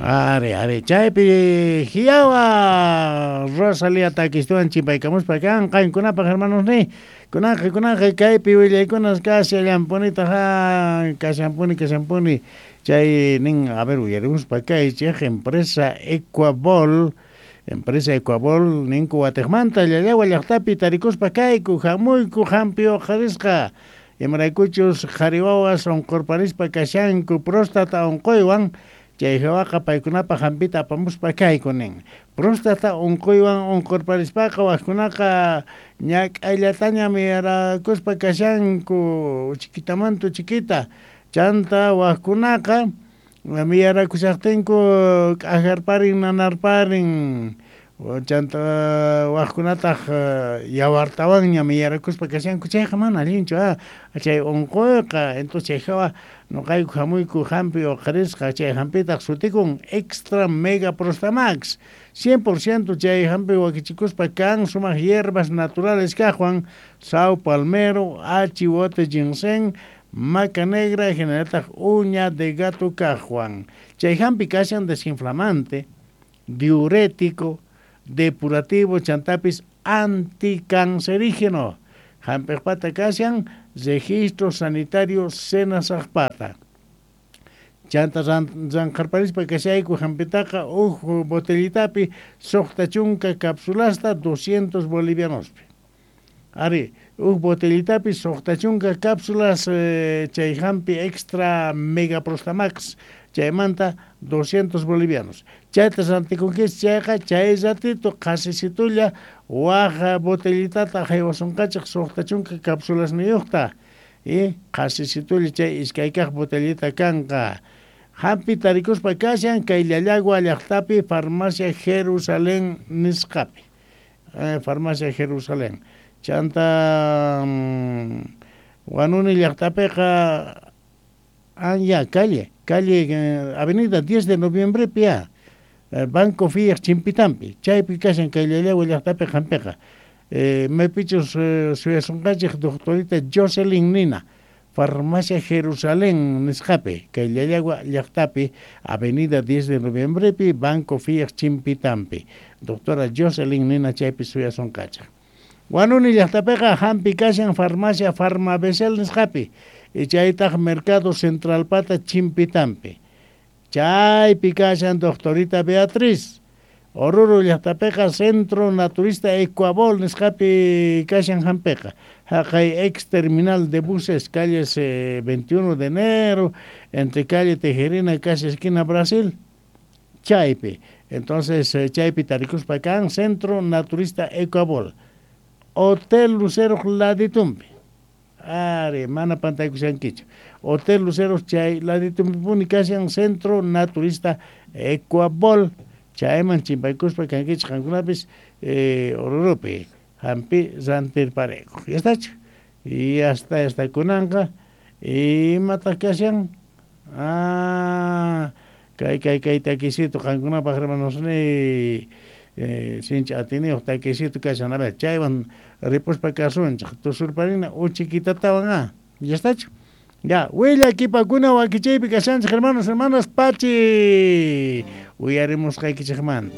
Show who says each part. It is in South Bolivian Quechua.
Speaker 1: Ari, ari, chaypi hiyawa Rosalía takistuwan chimpaykamuspa kan qankunapaq hermanos ni. Kunanqa, kunanqa kaypi willaykunas kashallanpunitaq kashanpuni, kashanpuni. Chay nin, a ver, uyarimuspa kaychej empresa Ecuabol, empresa Ecuabol ninku watiqmanta Llallagua llaqtapi tarikuspa kayku, hamuyku hampi uqharisqa. Imaraykuchus qhari wawas unqurparispa kashanku próstata unquywan, chay hawaqa paykunapaq hampita apamuspa kayku nin. Próstata unquywan unqurparispaqa wajkunaqa ñak'ayllataña miyarakuspa kashanku chiquitamanta chiquita. Chanta wajkunaqa miyarakushaqtinku k'ajarparin nanarparin, chanta wajkunataq yawartawanña miyarakuspa kashanku, chayqa mana allinchu chay unquyqa. Entonces chay hawa noqayku hamuyku hampi uqharisqa, chay hampitaq sutikun Extra Mega Prostamax. 100% chay hampi wakichikuspa kan sumaq hierbas naturales kaqwan, sao palmero, achiwote ginseng, maca negra, hinallataq uña de gato kaqwan. Chay hampi kashan desinflamante, diurético, depurativo, chantapis anticancerígeno. Hampiqpata kashan registro sanitario Senasaqpata. Chanta ranqharparispa kashayku hampitaqa uj botellitapi suqta chunka cápsulasta 200 bolivianospi. Ari, uj botellitapi suqta chunka cápsulas chay hampi extra mega prostamax chaymanta 200 bolivianos. Chayta rantikunkichis chayqa chay ratito qhasisitulla waj botellitata haywasunqachej suqta chunka cápsulasniyuqta. Y qhasisitulla chay iskaykaq botellita kanqa. Hampi tarikuspa kashan kay Llallagua llaqtapi farmacia Jerusalén nisqapi. Farmacia Jerusalén. Chanta Huanuni llaqtapiqa ya calle, calle avenida 10 de noviembre pia Banco Fiat Chimpitampi. Chaypi kashan kay Llallagua llaqtapi hampiqa. Maypichus suyasunqachej doctorita Jocelyn Nina, Farmacia Jerusalén nisqapi, kay Llallagua llaqtapi, avenida 10 de noviembre pi, Banco Fiat Chimpitampi. Doctora Jocelyn Nina chaypi suyasunqachej. Huanuni llaqtapiqa hampi kashan Farmacia Farmabesel nisqapi, chaytaq Mercado Centralpata Chimpitampi. Chaypi kashan doctorita Beatriz. Oruro llaqtapiqa Centro Naturista Ecuabol nisqapi kashan hampiqa. Haqay ex terminal de buses, calles 21 de enero, entre calle Tejerina y casi esquina Brasil, chaypi. Entonces chaypi tarikuspa kan Centro Naturista Ecuabol. Hotel Lucero laditumpi. Are, mana pantaykushankichu. Hotel Lucero chay laditumpipuni kashan Centro Naturista Ecuabol. Chayman chimpaykuspa kankichik qankunapis Orurupi hampi rantirparayku. Ya estachu. Y hasta esta kunanqa imataq kashan? Kay kay kay takisito qankunapaq hermanos ni sinchi atiniyuq takisito kashan. A ver, chaywan ripuspa kasunchik tusurparina uchiquitatawan Ya estachu. Ya, willakipakuna wakichaypi kashanchik hermanos, hermanas, pachi uyarimusqaykichikmanta.